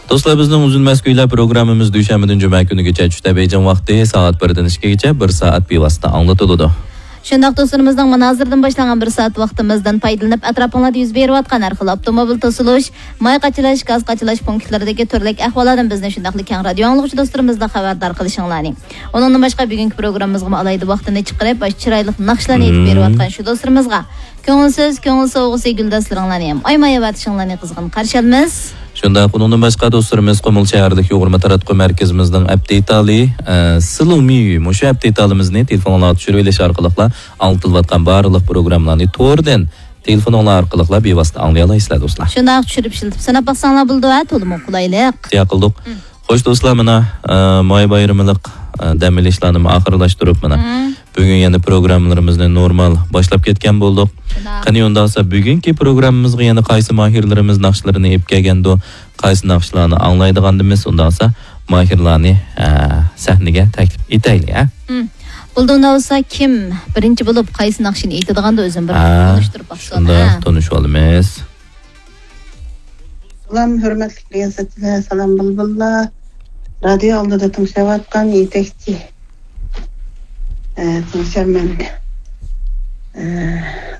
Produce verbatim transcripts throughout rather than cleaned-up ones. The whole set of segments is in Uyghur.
دوستلار، بىزنىڭ ئۈزۈلمەس كۈيلەر پروگراممىمىز دۈشەنبىدىن جۈمە كۈنىگىچە چۈشتە بېيجىڭ ۋاقتى سائەت بىردىن ئىككىگىچە بىر سائەت بىۋاسىتە ئاڭلىتىلىدۇ. شۇنداق دوستلىرىمىزنىڭ مانا ھازىردىن باشلانغان بىر سائەت ۋاقتىمىزدىن پايدىلىنىپ، ئەتراپىڭلاردا يۈز بېرىۋاتقان ھەر خىل ئاپتوموبىل توسۇلۇش، ماي قاچىلاش، گاز قاچىلاش پونكىتلىرىدىكى تۈرلۈك ئەھۋاللاردىن بىزنى، شۇنداقلا كەڭ رادىيو ئاڭلىغۇچى دوستلىرىمىزنى خەۋەردار قىلىشىڭلارنى. ئۇنىڭدىن باشقا، بۈگۈنكى پروگراممىمىزغىمۇ ئالاھىدە ۋاقتىنى چىقىرىپ، ئاشۇ چىرايلىق ناخشىلارنى ئېيتىپ مم. بېرىۋاتقان شۇ دوستلىرىمىزغا كۆڭۈل سۆز، كۆڭۈل سوۋغىسى، گۈل داستىلىرىڭلارنى ھەم ئايىماي ئەۋەتىشىڭلارنى قىزغىن قارشى ئالىمىز. شۇنداق، ئۇنىڭدىن باشقا دوستلىرىمىز قۇمۇل شەھەرلىك يۇغۇرما تاراتقۇ مەركىزىمىزنىڭ ئەپ دېتالى، ئە، سىلۇمى، مۇشۇ ئەپ دېتالىمىزنى تېلېفونغا چۈشۈرۈۋېلىش ئارقىلىقلا ئاڭلىتىلىۋاتقان بارلىق پروگراممىلارنى توردىن تېلېفونۇڭلار ئارقىلىقلا بىۋاسىتە ئاڭلىيالايسىلەر، دوستلار. شۇنداق، چۈشۈرۈپ ئىشلىتىپ سىناپ باقساڭلار بولىدۇ، ھە، تولىمۇ قولايلىق. شۇنداق قىلدۇق. مم. خوش، دوستلار، مانا، ئە، ماي بايرىملىق، ئە، دەم ئېلىشلارنىمۇ ئاخىرلاشتۇرۇپ، مانا، مم. بۈگۈن يەنە پروگراممىلىرىمىزنى نورمال باشلاپ كەتكەن بولدۇق. شۇنداق. قېنى، ئۇنداقسا بۈگۈنكى پروگراممىمىزغا يەنە قايسى ماھىرلىرىمىز ناخشىلىرىنى ئېلىپ كەلگەندۇ؟ قايسى ناخشىلارنى ئاڭلايدىغاندىمىز؟ ئۇنداقسا ماھىرلارنى، ئە، سەھنىگە تەكلىپ ئېتەيلى، ھە؟ مم. بولدى، ئۇنداق بولسا كىم بىرىنچى بولۇپ قايسى ناخشىنى ئېيتىدىغاندۇ، ئۆزۈم بىر ھە، تونۇشتۇرۇپ باقسۇن، شۇنداق، ھە؟ تونۇشۇۋالىمىز. سالام، ھۆرمەتلىك رىياسەتچىلەر، سالام، بۇلبۇللار. رادىيو ئالدىدا تىڭشاۋاتقان يېتەكچى، ئە، تىڭشارمەن. ئە،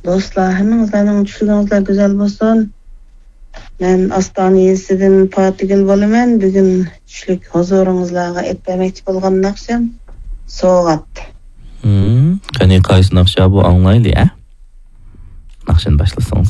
دوستلار، ھەممىڭىزلەرنىڭ چۈشلىرىڭىزلەر گۈزەل بولسۇن. مەن ئاستانە يېزىسىدىن پاتىگۈل بولىمەن. بۈگۈن چۈشلۈك ھۇزۇرىڭىزلارغا ئېلىپ بەرمەكچى بولغان ناخشام سوۋغات. ھىم، قېنى، قايسى ناخشا بۇ، ئاڭلايلى، ھە؟ ناخشىنى باشلىسىڭىز.